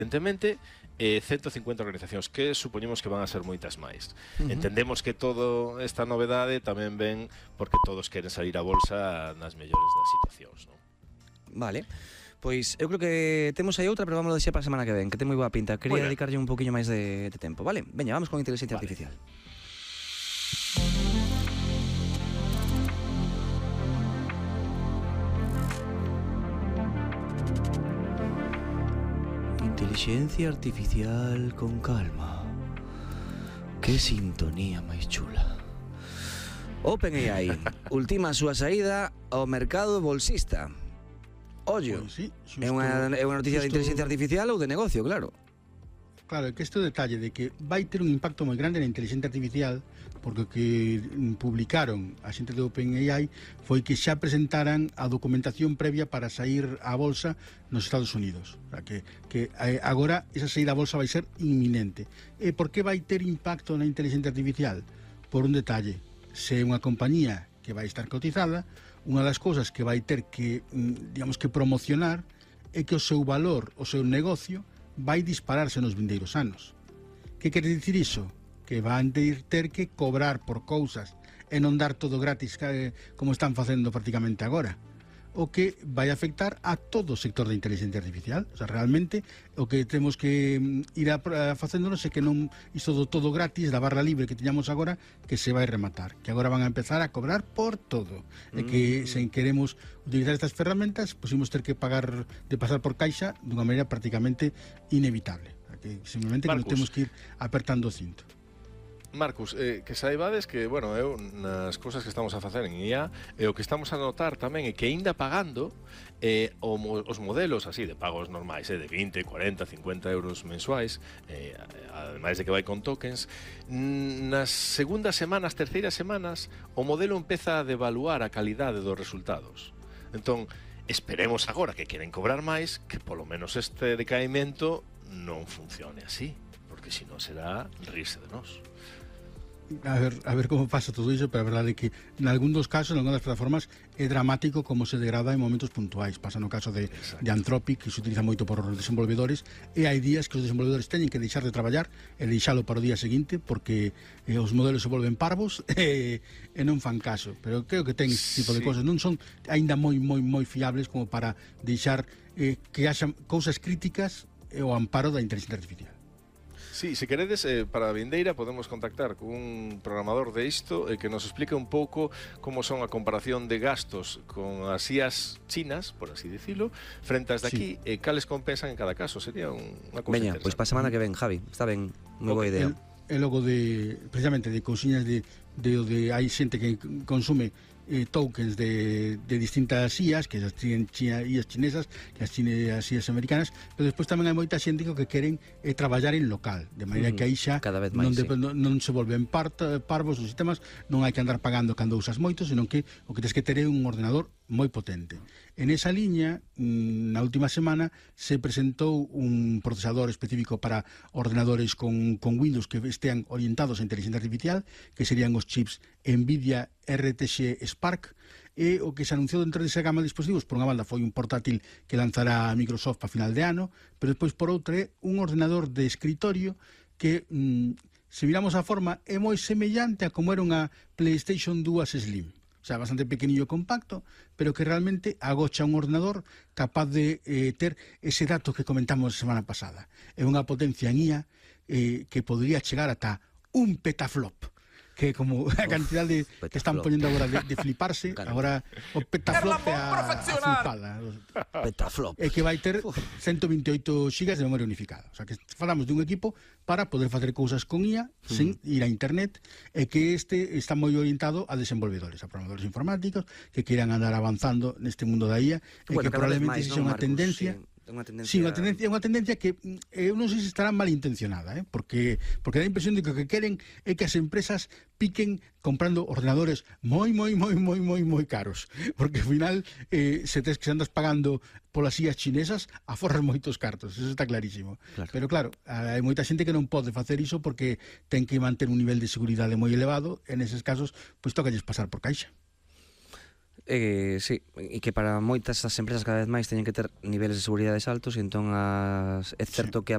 evidentemente, 150 organizacións, que supoñemos que van a ser moitas máis. Entendemos que toda esta novedade tamén ven porque todos queren salir a bolsa nas mellores das situacións, non? Vale. Pois eu creo que temos aí outra, pero vamos a deixar para a semana que ven, que ten moi boa pinta. Quería dedicarlle un poquinho máis de tempo, vale? Veña, vamos con inteligencia artificial. Inteligencia artificial con calma. Que sintonía máis chula. OpenAI ultima a súa saída ao mercado bolsista. Ollo, Pois sí, é unha noticia de inteligencia artificial ou de negocio, claro. Claro, é que este detalle de que vai ter un impacto moi grande na inteligencia artificial, porque o que publicaron a xente de OpenAI foi que xa presentaran a documentación previa para sair á bolsa nos Estados Unidos. O sea, que agora esa saída á bolsa vai ser inminente. E por que vai ter impacto na inteligencia artificial? Por un detalle, se é unha compañía que vai estar cotizada, unha das cousas que vai ter que, digamos que promocionar é que o seu valor, o seu negocio vai dispararse nos vindeiros anos. Que quere dicir iso? Que van ter que cobrar por cousas e non dar todo gratis como están facendo prácticamente agora. O que vai afectar a todo o sector da inteligencia artificial. O sea, realmente o que temos que ir facéndonos é que non isto do todo gratis, da barra libre que teñamos agora, que se vai rematar, que agora van a empezar a cobrar por todo. E que se queremos utilizar estas ferramentas, pois imos ter que pagar de pasar por caixa dunha maneira prácticamente inevitable. Que simplemente que non temos que ir apertando o cinto. Marcus, que saibades que, bueno, eu nas cousas que estamos a facer en IA, o que estamos a notar tamén é que aínda pagando os modelos así de pagos normais, de 20, 40, 50 euros mensuais, ademais de que vai con tokens, nas segundas semanas, terceiras semanas, o modelo empeza a devaluar a calidade dos resultados. Entón, esperemos agora que queren cobrar máis, que polo menos este decaimento non funcione así, porque senón será rirse de nós. A ver como pasa todo iso, pero a verdade é que en algún dos casos, en algunhas plataformas, é dramático como se degrada en momentos puntuais. Pasa no caso de Anthropic, que se utiliza moito por os desenvolvedores, e hai días que os desenvolvedores teñen que deixar de traballar e deixalo para o día seguinte porque os modelos se volven parvos e non fan caso. Pero creo que ten este tipo de cousas. Non son aínda moi fiables como para deixar que haxa cousas críticas ao amparo da inteligencia artificial. Sí, se queredes, para a vindeira podemos contactar con un programador de isto que nos explique un pouco como son a comparación de gastos con as IAs chinas, por así dicilo, frente ás daqui, e cales compensan en cada caso. Sería unha cousa interesante. Veña, pois para a semana que ven, Javi, está ben, moi boa idea. E logo precisamente de cousiñas de hai xente que consume tokens de distintas IAs, que as IAs chinesas, que as IAs americanas, pero despois tamén hai moita xente que queren traballar en local, de maneira que aí xa non se volven parvos os sistemas, non hai que andar pagando cando usas moito, senón que o que tens que ter é un ordenador moi potente. En esa liña, na última semana, se presentou un procesador específico para ordenadores con Windows que estean orientados a inteligencia artificial, que serían os chips NVIDIA RTX Spark, e o que se anunciou dentro desa gama de dispositivos, por unha banda, foi un portátil que lanzará Microsoft a final de ano, pero despois por outra é un ordenador de escritorio que, se miramos a forma, é moi semellante a como era unha PlayStation 2 Slim. O sea, bastante pequenillo e compacto, pero que realmente agocha un ordenador capaz de ter ese dato que comentamos a semana pasada. É unha potencia en IA que podría chegar ata un petaflop, que como a cantidade que están poñendo agora de fliparse, agora o petaflop é a flipada. Petaflop. É que vai ter 128 GB de memoria unificada. O sea, que falamos dun equipo para poder facer cousas con IA sen ir a internet, e que este está moi orientado a desenvolvedores, a programadores informáticos que quieran andar avanzando neste mundo da IA, e que probablemente sexa unha tendencia. Sí, unha tendencia que eu non sei se estará malintencionada, porque dá a impresión de que o que queren é que as empresas piquen comprando ordenadores moi caros, porque ao final se andas pagando polas IAs chinesas aforras moitos cartos, eso está clarísimo. Pero claro, hai moita xente que non pode facer iso porque ten que manter un nivel de seguridade moi elevado, e neses casos pois tocalles pasar por caixa. Sí, e que para moitas as empresas cada vez máis teñen que ter niveles de seguridade altos, e entón é certo que